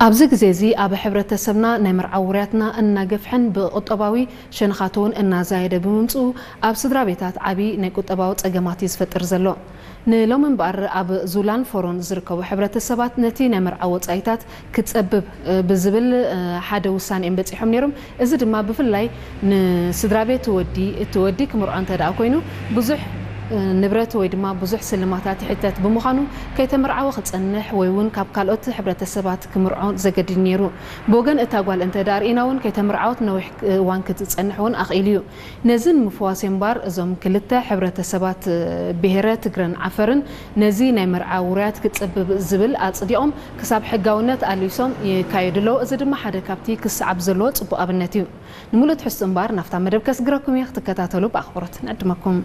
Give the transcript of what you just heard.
ኣብዚ ግዜ እዚ ኣብ ሕብረተሰብና ናይ መርዓ ውርያትና እናገፍሐን ብቁጠባዊ ሸነኻቱ እውን እናዛየደ ብምምፅኡ ኣብ ስድራ ቤታት ዓብዪ ናይ ቁጠባዊ ፀገማት እዩ ዝፈጥር ዘሎ። ንሎሚ እምበኣር ኣብ ዙላን ፎሮን ዝርከቡ ሕብረተሰባት ነቲ ናይ መርዓ ወፃኢታት ክፀብብ ብዝብል ሓደ ውሳኔ እዮም በፂሖም ነይሮም። እዚ ድማ ብፍላይ ንስድራ ቤት ወዲ እቲ ወዲ ክምርዖ እንተ ደኣ ኮይኑ ብዙሕ ንብረት ወይ ድማ ብዙሕ ስልማታት ይሕተት ብምዃኑ ከይተመርዓወ ክፀንሕ ወይ እውን ካብ ካልኦት ሕብረተሰባት ክምርዖ ዘገድድ ነይሩ። ብወገን እታ ጓል እንተ ደኣ ርኢና እውን ከይተመርዓወት ነዊሕ እዋን ክትፀንሕ እውን ኣኽኢሉ እዩ። ነዚ ንምፍዋስ እምባር እዞም ክልተ ሕብረተሰባት ብሄረ ትግረን ዓፈርን ነዚ ናይ መርዓ ውሩያት ክፅብብ ዝብል ኣፅዲቖም ክሳብ ሕጋውነት ኣልቢሶም ይካየዱ ኣለዉ። እዚ ድማ ሓደ ካብቲ ክሰዓብ ዘለዎ ፅቡቕ ኣብነት እዩ። ንምሉእ ትሕዝቶ እምባር ናብታ መደብ ከስግረኩም እየ፣ ክትከታተሉ ብኣኽብሮት ንዕድመኩም።